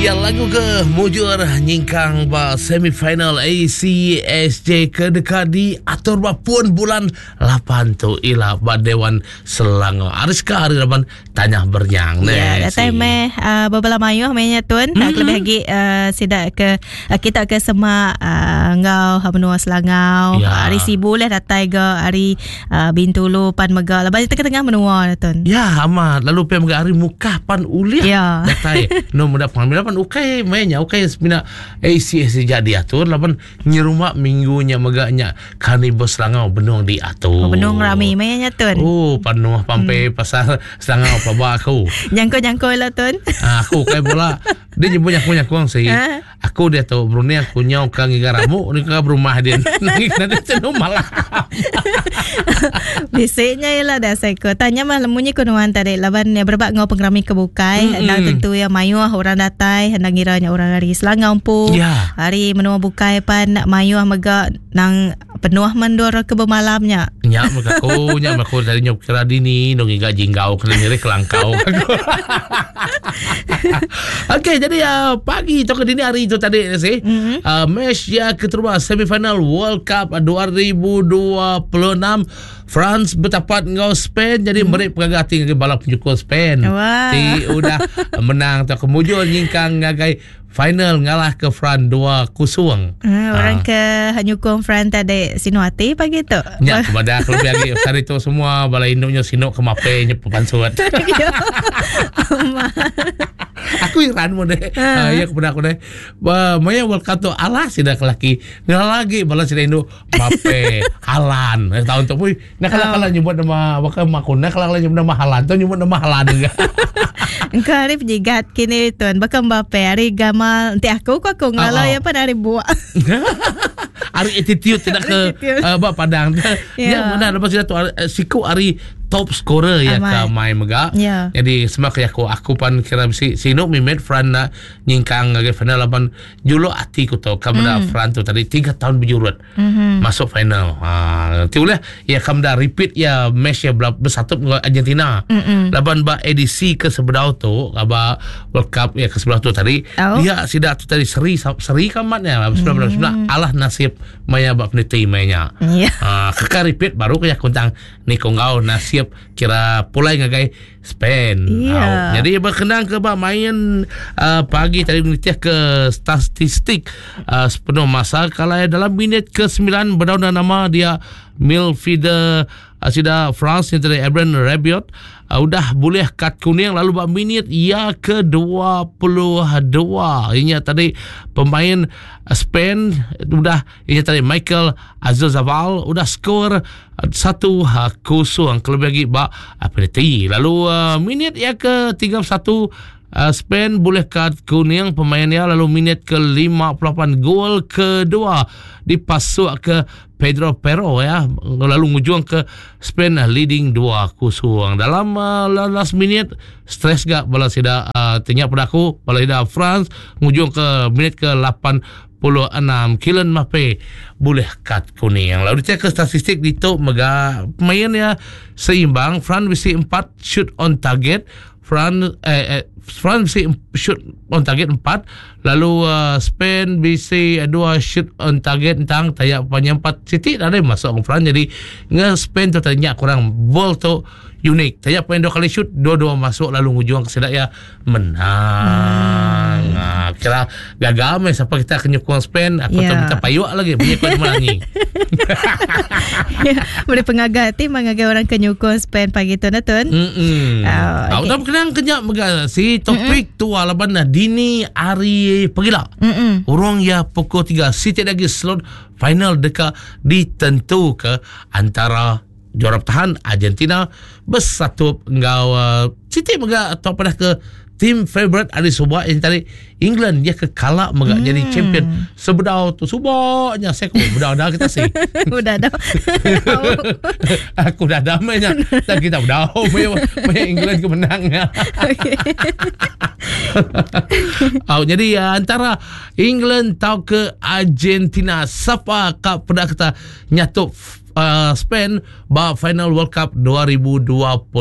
Ya lagu ke mujur nyingkang ba semifinal ACSJ ke deka diatur ba pun bulan 8 tu ila ba Dewan Selangor. Ariska hari laban Tanya bernyang ne. Ya, datai meh uh, bebela mayuh meh nya tun. Mm-hmm. Kelebih lagi uh, sida ke uh, kita ke semak uh, enggau menua Selangau. Ya. Hari Sibu leh datai ga hari uh, Bintulu pan mega laban tengah-tengah menua tun. Ya, amat. Lalu pe mega hari Mukah pan ulih ya. datai. No muda pengambil pan ukai meh nya ukai semina ACS jadi atur laban Nyerumba minggu nya mega nya Karnival Selangau benung diatur. Oh, benung rami maya nya tun. Oh, penuh pampe hmm. pasal Selangau pelaba aku. Nyangko-nyangko lah tun. Ah, aku kai bola. Dia nyebut nyangko-nyangko sih. Ha? Aku dia tu berunding aku nyau ka ngiga ramu ni ka berumah dia. Nanti tu malah. Bisiknya ialah dah saya ko. Tanya mah lemunyi ko nuan tadi laban ya berebak ngau pengerami ke bukai. Mm-hmm. Endang tentu ya mayuh orang datai endang ngiranya orang dari Selangau empu. Yeah. Ari menua bukai pan mayuh mega nang penuh mendur ke bemalamnya. Nya mega aku, nya mega aku tadi nyop kira dini dong ngiga jinggau kena nyeri kelangkau. Okey, jadi uh, pagi tu ke dini hari tu tadi sih. Mm-hmm. Uh, match ya keterubah semifinal World Cup 2026 France bertapat enggau Spain jadi mm. meri pengaga ati ngagai bala penyukung Spain. Wah. Ti udah menang atau kemujur nyingkang ngagai Final ngalah ke Fran 2-0. Uh, orang ha. ke nyukung Fran tadi sinu hati pagi tu. Nya kepada aku lebih lagi hari tu semua bala induknya sinu ke mape nya pepansut. Ya. aku iran mu deh. Uh. ya kepada aku deh. Ba maya World Cup tu alah sida ke laki. Ngalah lagi bala sida indu Mape Halan. Eh, tahun tu pun nak kalau kalau nyebut nama bakal makun nak kalau kalau nyebut nama Halan tu nyebut nama Halan juga. Engkau hari penjigat kini tuan bakal Mbappe hari gamal nanti aku ku aku ngalau oh, oh. ya pan hari buak. hari attitude tidak ke uh, bak padang. Yeah. Ya benar lepas itu uh, siku hari top scorer ya ke mai mega. Yeah. Jadi semua ke aku aku pan kira si sinu mimet Fran nak nyingkang ngagai final laban Juluk ati ku tu ka meda mm. Fran tu tadi 3 tahun berjurut mm-hmm. masuk final. Ha nanti boleh ya ka meda repeat ya match ya bersatu dengan Argentina. Mm-hmm. Laban ba edisi ke sebedau tu ba World Cup ya ke sebelah tu tadi oh. dia sida tu tadi seri seri kamatnya mm. sebelah alah nasib maya ba peniti maya. Yeah. Ha keka repeat baru ke ya kuntang ni ko ngau nasib kira pulai ngagai Spain. Yeah. Jadi berkenaan ke ba main uh, pagi tadi menitih ke statistik uh, sepenuh masa kalau dalam minit ke-9 berdaun nama dia midfielder uh, sida France yang tadi Ebron Rabiot uh, udah boleh kad kuning lalu ba minit ia ke-22 ini tadi pemain Spain udah ini tadi Michael Oyarzabal udah skor 1-0 kelebih lagi ba penalti. Lalu uh, minit yang ke-31 uh, Spain boleh kad kuning pemain dia lalu minit ke-58 gol kedua dipasuk ke Pedro Porro ya lalu ngujung ke Spain leading 2-0 dalam uh, last minute stress gak bala sida uh, tanya pada aku bala sida France ngujung ke minit ke 8 6 Kylian Mbappe bulih kad kuning. Lalu dicek ke statistik ditu mega pemain ya seimbang France bisi 4 shoot on target France eh, eh France bisi shoot on target 4 lalu uh, Spain bisi 2 shoot on target tentang tayak punya 4 siti dah masuk ke France jadi nge Spain tu tanya kurang ball tu unik tayak pemain dua kali shoot dua-dua masuk lalu ngujung ke sidak ya menang. Hmm. Ha, kira gagal meh siapa kita kena nyukung Spain aku yeah. tu minta payuk lagi bunyi kau menangi. Ya, boleh pengaga ti mengagai orang ke nyukung Spain pagi tu na tun. Hmm. Uh, okay. Udah kenang kenyap mega si topik mm-hmm. tu laban dah dini hari pegila. Mm-hmm. Urang ya pukul 3 si lagi slot final dekat ditentu ke antara juara bertahan Argentina bersatu enggau uh, siti mega atau pada ke team favorite ari suba yang tadi England dia ke kalak mega jadi champion sebedau tu subaknya saya aku bedau dah kita sih Udah dah. aku dah damainya dan kita bedau maya maya England ke menangnya. Okay. Oh, jadi uh, antara England tau ke Argentina siapa kak peda kita nyatup. Spain ba final World Cup 2026.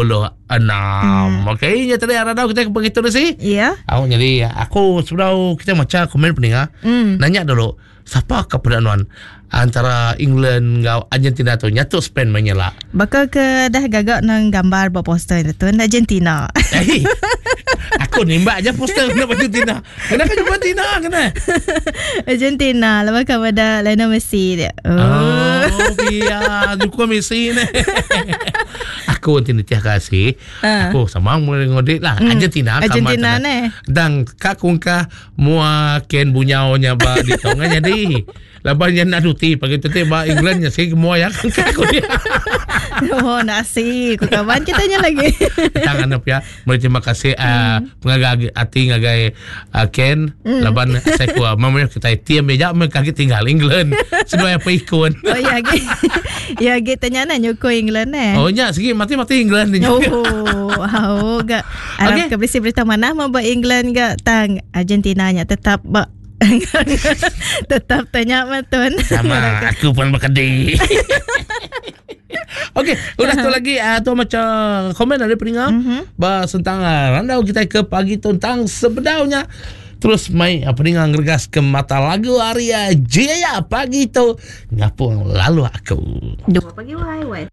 Hmm. Okey, nya tadi arah kita ke begitu sih. Ya. Aku jadi aku sebelum kita baca komen peninga, nanya dulu siapa ke pedanuan antara England enggau Argentina tu nyatu Spain menyela. Baka ke dah gagak nang gambar ba poster tu Argentina. Eh, aku nimbak aja poster kena Argentina. Kena kan Argentina kena. Argentina lepas kau pada Lionel Messi dia. Oh, oh iya, dukung Messi ni. aku nanti nitih kasih. Uh. Aku sama mulai ngodik lah. Argentina Argentina ni. Dan kak kungkah mua ken bunyau nya ba di tonga jadi. Laban nya nak duti pagi tu ba England nya sih mua ya aku dia. Oh nasi ku kawan kita nya lagi. Tangan apa ya. Meri terima kasih pengaga ati ngagai Ken laban saya ku memang kita team ya me kaki tinggal England. Seduai apa ikun. Oh ya ge. Ya ge tanya na nyuko England eh. Oh nya segi mati-mati England ni. Oh, oh ga. Arab okay. ke berisi berita mana mau ba England ga tang Argentina nya tetap ba tetap tanya matun. Sama aku pun berkedih. Okey, udah tu lagi tu macam komen dari peninga ba tentang randau kita ke pagi tentang sebedaunya. Terus mai peninga ngeregas ke mata lagu Aria Jaya pagi tu ngapung lalu aku. Dua pagi wai wai.